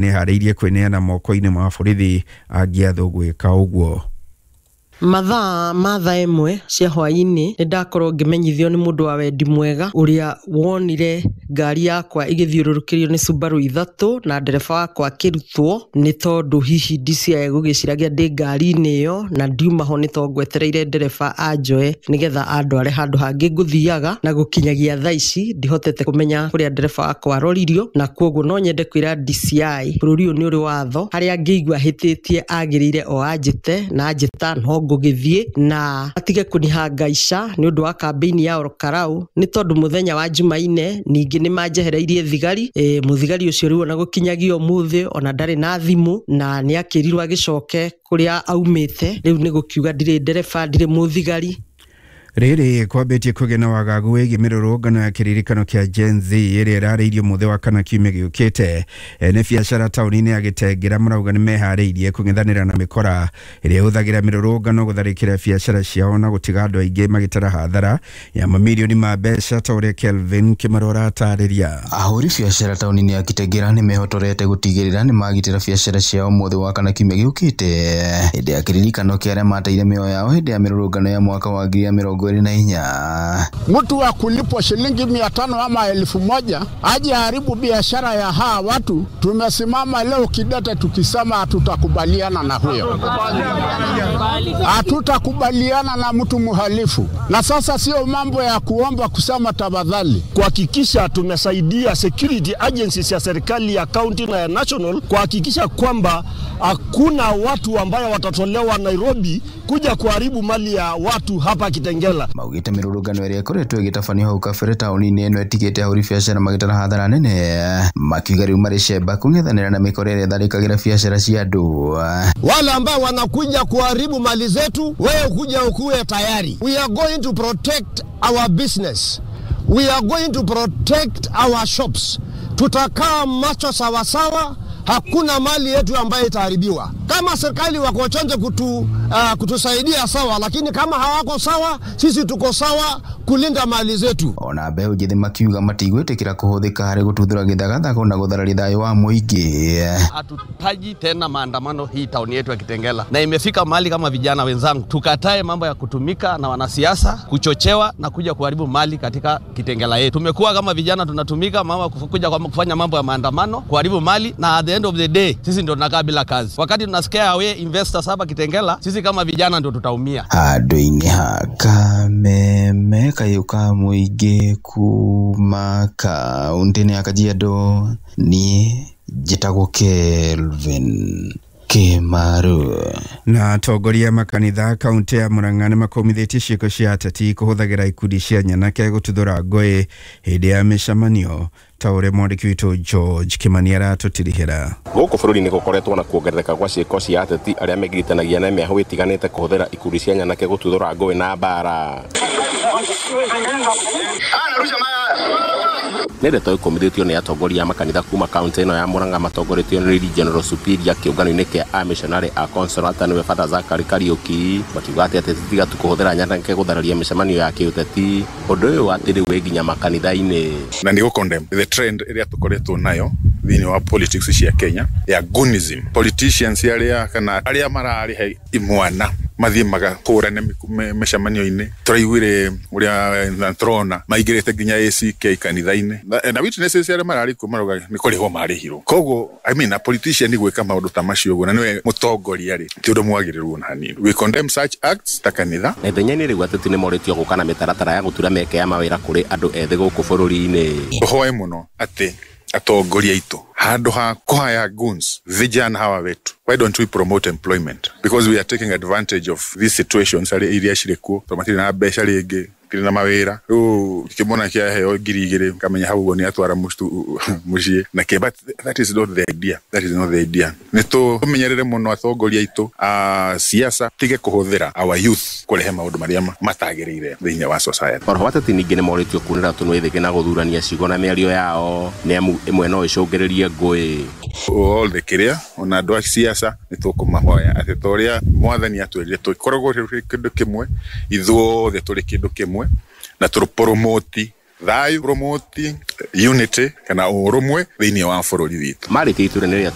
Nĩeharĩirie kwĩneana moko-inĩ ma borithi angĩathwo gwĩka ũguo. Mathaa ma thaa 1 cia hwaĩ-inĩ nĩ ndakorwo ngĩmenyithio nĩ mũndũ wa wendi mwega ũrĩa wonire ngari yakwa ĩgĩthiũrũrũkĩrio nĩ Subaru ithatũ na ndereba wakwa akĩrutwo nĩ tondũ hihi DCI egũgĩciragia ndĩ ngari-inĩ ĩyo, na ndiuma ho nĩ tondũ ngwetereire ndereba anjoe nĩgetha andware handũ hangĩ ngũthiaga, na gũkinyagia thaa ici ndihotete kũmenya kũrĩa ndereba wakwa aroririo. Na koguo no nyende kwĩra DCI bũrũri ũyũ nĩ ũrĩ watho, harĩa angĩigua ahĩtĩtie agĩrĩire o anjĩte, na anjĩta no ngũgĩthiĩ, na atige kũnihangaica nĩ ũndũ wa kambĩini ya Ol Kalou, nĩ tondũ mũthenya wa Jumaine ningĩ nĩ manjehereirie thigari. Mũthigari ũcio rĩu ona gũkinyagia ũmũthĩ ona ndarĩ na thimũ, na nĩ akĩrirwo agĩcoke kũrĩa aumĩte. Rĩu nĩ gũkiuga ndirĩ ndereba, ndirĩ mũthigari. Rĩrĩ kwambĩtie kũgĩa na wagagu wĩgiĩ mĩrũrũngano ya kĩririkano kĩa Gen Z ĩrĩa ĩrarĩirio mũthĩ wa kana kiumia gĩũkĩte. Ene biacara taũni-inĩ ya Gĩtengera marauga nĩ meharĩirie kũng'ethanĩra na mĩkora ĩrĩa ĩhũthagĩra mĩrũrũngano gũtharĩkĩra biacara ciao na gũtiga andũ aingĩ magĩtara hathara ya mamirioni ma mbeca, ta ũrĩa Kelvin Kĩmaro aratarĩria. Ahũri biacara taũni-inĩ ya Kitengela nĩ mehotorete gũtigĩrĩra nĩ magitĩra biacara ciao mũthĩ wa kana kiumia gĩũkĩte, hĩndĩ ya kĩririkano kĩa arĩa mateire mĩoyo yao hĩndĩ ya mĩrũrũngano ya mwaka wa 2024. Mtu wa kulipwa shilingi 500 ama 1000 aje haribu biashara ya hawa watu. Tumesimama leo kidete tukisema hatutakubaliana na huyo, hatutakubaliana na mtu mhalifu. Na sasa sio mambo ya kuomba kusema tafadhali, kuhakikisha tumesaidia security agencies ya serikali ya county na ya national kuhakikisha kwamba hakuna watu ambayo watatolewa Nairobi kuja kuharibu mali ya watu hapa Kitengela. Maugĩte mĩrũrũngano ĩrĩa ĩkoretwo ĩgĩtabanio hau kabere taũni-inĩ ĩno ĩtigĩte ahũri biacara magĩtara hathara nene, makiuga rĩu marĩ cemba kũng'ethanĩra na mĩkora ĩrĩa ĩtharĩkagĩra biacara cia andũ. Wale ambao wanakuja kuharibu mali zetu, wewe kuja ukuwe tayari. We are going to protect our business. We are going to protect our shops. Tutakaa macho sawasawa, hakuna mali yetu ambayo itaharibiwa. Kama serikali wako chonjo kutusaidia sawa, lakini kama hawako sawa, sisi tuko sawa kulinda mali zetu. Ona mbeũ njĩthĩ makiuga matigwĩtĩkĩra kũhũthĩka harĩ gũtuthũra gĩthagathago na gũthararia thayũ wa mũingĩ. Hatutaji tena maandamano hii tauni yetu ya Kitengela, na imefika mahali kama vijana wenzangu tukatae mambo ya kutumika na wanasiasa kuchochewa na kuja kuharibu mali katika Kitengela yetu. Tumekuwa kama vijana tunatumika mama kuja kufanya mambo ya maandamano, kuharibu mali, na at the end of the day sisi ndio tunakaa bila kazi. Wakati tunasikia away investors hapa Kitengela, sisi kama vijana ndio tutaumia. Handũ-inĩ ha kameme kayũ ka mũingĩ kuma kaũntĩ-inĩ ya Kajiado, niĩ njĩtagwo Kelvin Kĩmaru. Na atongoria makanitha kaunti ya Murang'a nĩ makũmithĩtie ciĩko cia ateti kũhũthagĩra ikundi cia nyanake gũtuthũra ngũĩ hĩndĩ ya mĩcemanio, ta ũrĩa mwandĩki witũ George Kimani aratũtirihĩra. Gũkũ bũrũri-inĩ gũkoretwo na kuongerereka gwa ciĩko cia ateti arĩa megiritanagia na mĩahũ ĩtiganĩte kũhũthĩra ikundi cia nyanake gũtuthũra ngũĩ na mbara. Nĩ ndeto ikumithĩtio nĩ atongoria a makanitha kuma kaunti ĩno ya Murang'a matongoretio nĩ General Superior kĩũngano-inĩ kĩa amishonarĩ a Consolata, nĩwe Father Zachary Kariuki, makiuga atĩ ateti tiga tu kũhũthĩra nyanake gũthararia mĩcemanio ya kĩũteti, ũndũ ũyũ atĩ rĩu wĩ nginya makanitha-inĩ. Na nĩ gũ-condemn the trend ĩrĩa tũkoretwo nayo thĩinĩ wa politics cia Kenya ya goonism. Politicians arĩa kana arĩa mararĩha imwana mathiĩ magakũrane mĩcemanio-inĩ, tũraiguire ũrĩa na tũrona maingĩrĩte nginya ACK kanitha-inĩ na witnesses arĩa mararĩ kuo marauga nĩ kũrĩhwo marĩhirwo. Koguo, I mean, a politician gwĩka maũndũ ta macio ũguo na nĩwe mũtongoria rĩ, ti ũndũ mwagĩrĩru ona hanini. We condemn such acts ta kanitha. Na ithenya-inĩ rĩu ateti nĩ morĩtio gũka na mĩtaratara ya gũtura mĩeke ya mawĩra kũrĩ andũ ethĩ gũkũ bũrũri-inĩ. Tũhoe mũno atĩ atongoria aitũ, handũ ha kũhaya goons vijana hawa wetu, why don't we promote employment? Because we are taking advantage of these situations arĩa iria cirĩ kuo, tondũ matirĩ na mbeca rĩngĩ, matirĩ na mawĩra. Rĩu kĩmwana kĩaheo 2000 kamenya hau ũguo nĩ atwara mũciĩ na kĩ, but that is not the idea, that is not the idea. Nĩ tũmenyerere mũno atongoria aitũ a siasa tige kũhũthĩra our youth kũrehe maũndũ marĩa matagĩrĩire thĩinĩ wa society. Oroho ateti ningĩ nĩ morĩtio kunĩra tũnua ithĩkĩ na gũthurania ciugo na mĩario yao, nĩ amu ĩmwe no ĩcũngĩrĩrie ngũĩ. All the kĩrĩa ona andũ a siasa nĩ tũkũmahoya atĩ ta ũrĩa mwathani atwĩrire tũkoragwo tũrĩ kĩndũ kĩmwe, ithuothe tũrĩ kĩndũ kĩmwe, na tũpromote Thayũ, promoting unity kana ũrũmwe thĩinĩ wa bũrũri witũ. Marĩtie iturwa-inĩ rĩa